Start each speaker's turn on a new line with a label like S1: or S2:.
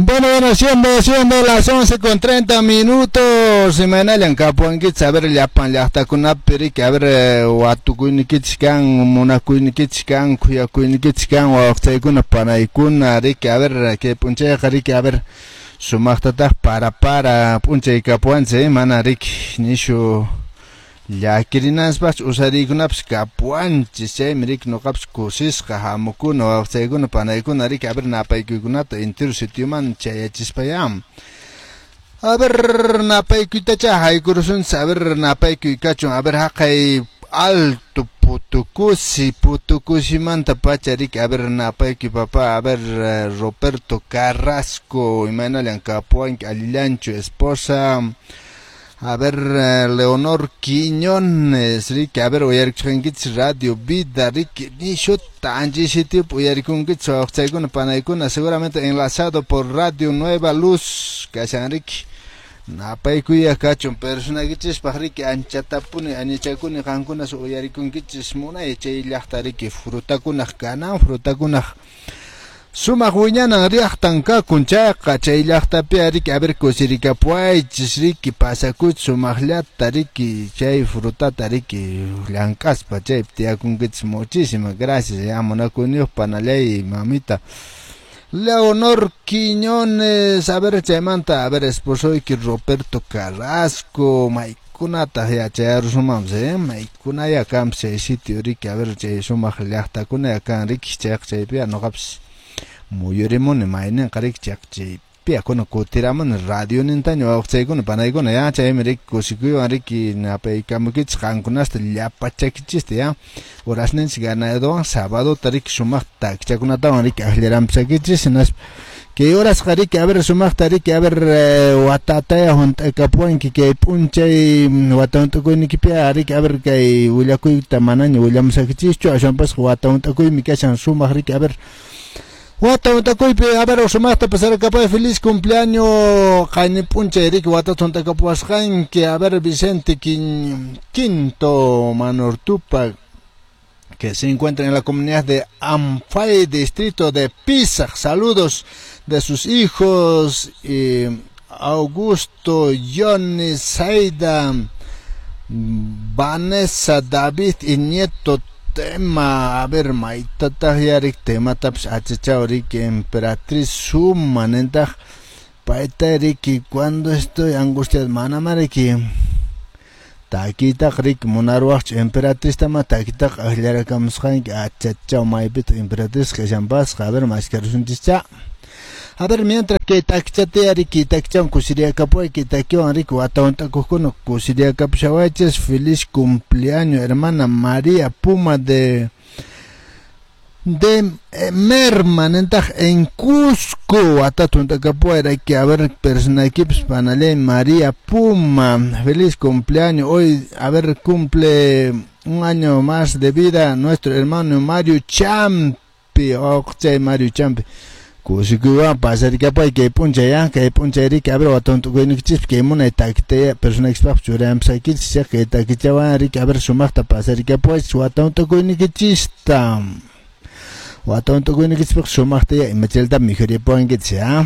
S1: Bueno, siendo las 11:30. Imaynallan kapuwankichis? A ver, llapan llaqtakunapi riki, a ver, watukuynikichis kan, munakuynikichis kan, khuyakuynikichis kan, wawaqchaykuna, panaykuna, riki, a ver, kay p'unchayqa riki, a ver, sumaqtataq para p'unchay kapuwanchis, mana riki, nishu llakirinanpaqchu usariykunapas kapuwanchis, chaymi riki nuqapas kusisqa hamukuna wawaqchaykuna, panaykuna, riki, a ver, napaykuykunata entero sitioman chayachispayá. A ver, napaykuytacha haykurusunchis, a ver, napaykuy kachun, a ver, haqay Alto Putucusi, Putucusimanta pacha riki, a ver, napaykuy papá, a ver, Roberto Carrasco, imaynallan kapuwanki, allillanchu esposa. A ver, Leonor Quiñones, riki, a ver, uyarikusqankichis Radio Vida, riki, nishuta anchi sitiopi uyarikunkichis wawaqchaykuna, panaykuna, seguramente enlazado por Radio Nueva Luz, kashan riki. Napaykuya kachun personaykichispaq riki, anchatapuni añichakuni qankunas uyarikunkichis munay chay llaqta riki, frutakunaq kanan, frutakunaq sumaq wiñanan llaqtan kakun chayqa, chay llaqtapi riki, a ver, kusirikapuwaychis riki, pasakuychis sumaqllata riki, chay frutata riki llank'aspa chaypi tiyakunkichis. Muchísimas gracias, ya munakuyniyuq panallay mamita Leonor Quiñones. A ver, chaymanta, a ver, esposoyki Roberto Carrasco, maykunataq yachayarusunmanpas, maykunaya kanpas chay sitio riki, a ver, chay sumaq llaqtakuna kan riki, chayqa chaypiya nuqapas muyurimuni mayninqa riki, chaypiya kuna kutiramuni radio nintaña wawqchaykuna, panaykuna, ya chaymi riki kusikuywan riki napaykamukichis qankunasta llapachakichista, ya horasninchis ganadowan sabadota riki sumaqta takichakunatawan riki akllarampisakichis, hinaspa kay horasqa riki, a ver, sumaqta riki, a ver, watataya hunt'akapuwanki kay p'unchay wata hunt'akuynikipiqa riki, a ver, kay willakuyta manaña willamusakichischu, aswanpasqa wata hunt'akuymi kashan sumaq riki, a ver, wata hunt'akuypi, a ver, sumaqta pasarakapuy, feliz cumpleaños qayni p'unchay riki watata hunt'akapuwasqanki, a ver, Vicente Quinto Manortupa, que se encuentra en la comunidad de Amfay, distrito de Pisac. Saludos de sus hijos, Augusto, Johnny, Saida, Vanessa, David y nieto Tema. A ver, maytataq yarik tematapas achachaw riki, Emperatriz Suma nintaq payta riki, cuando estoy angustiado, manama riki takiytaqa riki munaruwaqchu Emperatriz-tama takiytaqa aklarakamusqanki, achachaw maypitaq Emperatriz kashanpasqa, a ver, maskarusunchis. A ver, mientras que takichata riki, takichawan kusiriyakapuway, kay takiwan riki wata hunt'akuqkuna kusiriyakapushawaychis. Feliz cumpleaños, hermana María Puma de Merma nintaq en Cusco, watata hunt'akapuway raki, a ver, personaykipas panallay María Puma, feliz cumpleaños. Hoy, a ver, cumple un año más de vida nuestro hermano Mario Champi, wawqichay Mario Champi, kusikuywan pasarikapay kay p'unchay, ya kay p'unchay riki, a ver, wata hunt'akuynikichis kay munay takita personaykispaqpas churayanpasaykichis, kay takichawan riki, a ver, sumaqta pasarikapuwaychis wata hunt'akuynikichista, wata hunt'akuynikichispaq sumaqta ya imachalta mikhuripuwankichis, ya.